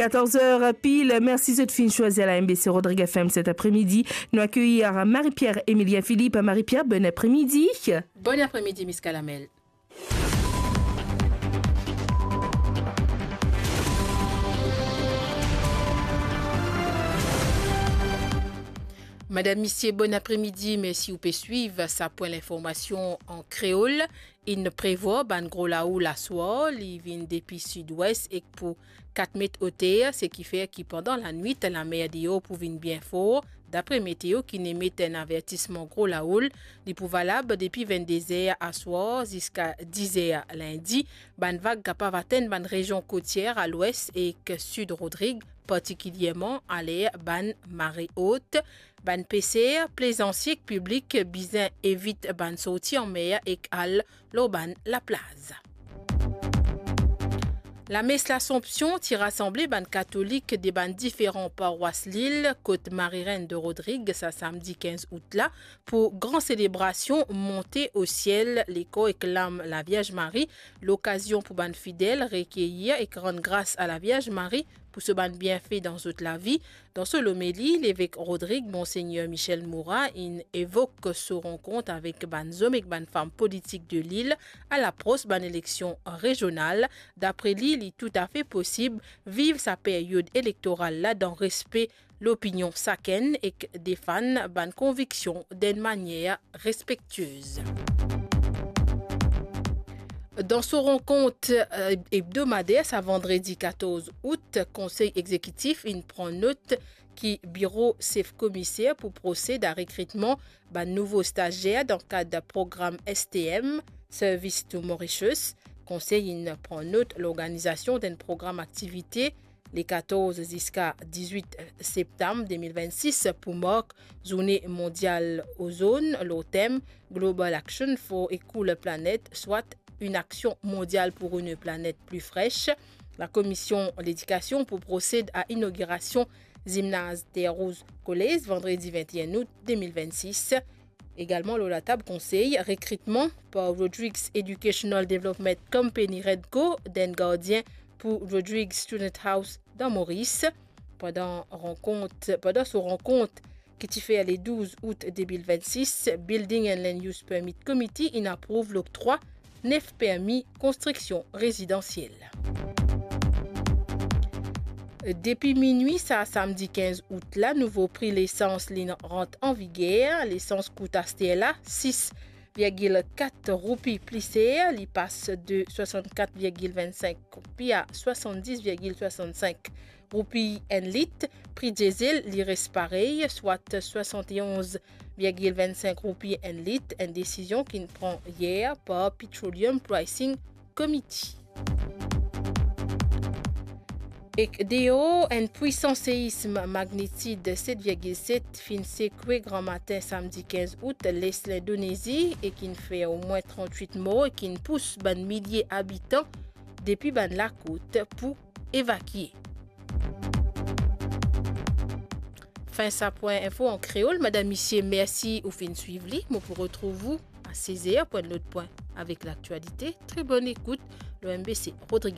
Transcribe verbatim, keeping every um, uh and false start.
Katorz er pil, mersi zot finn swazir la M B C Rodrigues F M set apremidi. Nou akeyir Marie-Pierre Emilien Philippe. Marie-Pierre, bon apremidi. Bon apremidi, Miss Kalamel. Madam, misie, bon apremidi, mersi ou pe swiv sa pwin linformasion an kreol. Inn prevwar bann gro laoul aswar, li vinn depi sidwes ek pou kat met oter, seki fer ki pandan lanwit, lamer deor pou vinn bien for. Dapre meteo ki'nn emet enn avertisman gro laoul, li pou valab depi vennde zer aswar ziska diz er lindi. Bann vag kapav atenn bann rezion kotier a lwes ek sid Rodrig, partikilierman aler bann mare ot. Bann peser, plezansie ek piblik bizin evit bann sorti anmer ek al lor bann laplaz. Lames Lasanpsion ti rasanble bann katolik de bann diferan parwas Lil, kot Marie-Reine de Rodrigues, sa samdi kinz out la, pou gran selebrasion Monte o siel lekor ek lam Lavierz Marie, lokazion pou bann fidel rekeyir ek rann gras a Lavierz Marie pou so bann bienfe dan zot lavi. Dan so lomeli, levek Rodrig, Monsegner Michel Moura, inn evok so rankont avek bann zom ek bann fam politik de Lil a lapros bann eleksion rezional. Dapre li, li toutafe posib viv sa peryod elektoral la dan respe lopinion sakenn ek defann bann konviksion dan enn manier respektiez. Dan so rankont, eh, ebdomader, sa vandredi katorz out, Konsey Egzekitif inn pran not ki biro sef komiser pou prosed a rekritman bann nouvo stazier dan kad program S T M, Service to Mauritius. Konsey inn pran not lorganizasion d'enn program aktivite le katorz ziska dizwit septam de mil vennsis pou mark Zourne Mondial Ozone lor tem Global Action for a Cooler Planet, soit une action mondiale pour une planète plus fraîche. Lakomision Ledikasion pou prosed a inogirasion zimnaz Terre Rouge College vandredi vennteen out de mil vennsis. Egalman lor latab konsey, rekritman par Rodrigues Educational Development Company, Redco, d'enn gardien pou Rodrigues Student House dan Moris. Pandan rankont, pandan so rankont ki ti fer le douz out de mil vennsis, Building and Land Use Permit Committee inn aprouv loktrwa nef permi konstriksion rezidansiel. Depi minwi sa samdi kinz out la, nouvo pri lesans li rant an viger. Lesans kout aster la sis virgil kat roupi pli ser, li pas de swasannkat virgil vennsink roupi a swasanndis virgil swasannsink roupi enn lit. Pri diesel, li res parey, swat swasantonz virgil vennsink roupi enn lit, enn desizion ki'nn pran yer par Petroleum Pricing Committee. Ek deor, enn pwisan seism magnitid set virgil set finn sekwe gramatin samdi kinz out les Lindonezi ek inn fer omwin trantwit mor ek inn pous bann milie abitan depi bann lakout pou evakie. Fin sa pwin info an kreol. Madam, misie, mersi ou finn swiv li. Mo pou retrouv ou a sez er pou enn lot pwin avek laktialite. Tre bonn ekout lor M B C Rodrigues.